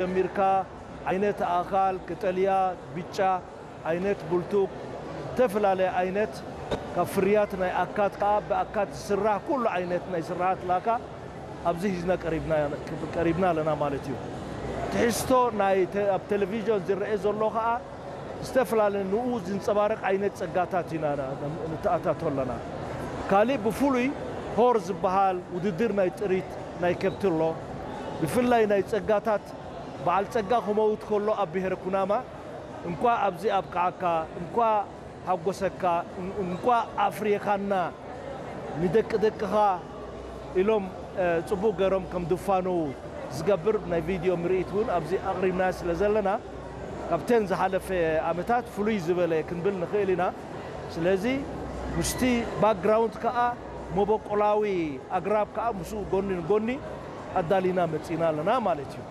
ጀሚርካ ዓይነት ኣእኻል፣ ቀጠልያ፣ ብጫ ዓይነት ቡልቱክ፣ ዝተፈላለየ ዓይነት ካብ ፍርያት ናይ ኣካት ከኣ ብኣካት ዝስራሕ ኩሉ ዓይነት ናይ ስራሓት ላካ ኣብዚ ሒዝና ቀሪብና ኣለና ማለት እዩ። ትሕዝቶ ናይ ኣብ ቴሌቪዥን ዝረአ ዘሎ ከኣ ዝተፈላለየ ንኡ ዝንጸባረቕ ዓይነት ጸጋታት ኢና ንተኣታቶ ኣለና። ካልእ ብፍሉይ ሆር ዝበሃል ውድድር ናይ ጥሪት ናይ ከብቲ ኣሎ። ብፍላይ ናይ ጸጋታት በዓል ጸጋ ክመውት ከሎ ኣብ ብሄረ ኩናማ እንኳ ኣብዚ ኣብቅዓካ፣ እንኳ ሓጎሰካ፣ እንኳ ኣፍሪኻና፣ ንደቂ ደቅኻ ኢሎም ጽቡቕ ገይሮም ከም ድፋነዉ ዝገብር ናይ ቪድዮ ምርኢት እውን ኣብዚ ኣቕሪብና ስለ ዘለና ካብተን ዝሓለፈ ዓመታት ፍሉይ ዝበለ ክንብል ንኽእል ኢና። ስለዚ ምስቲ ባክግራውንድ ከኣ መበቆላዊ ኣግራብ ከኣ ምስኡ ጎኒ ንጎኒ ኣዳሊና መጺና ኣለና ማለት እዩ።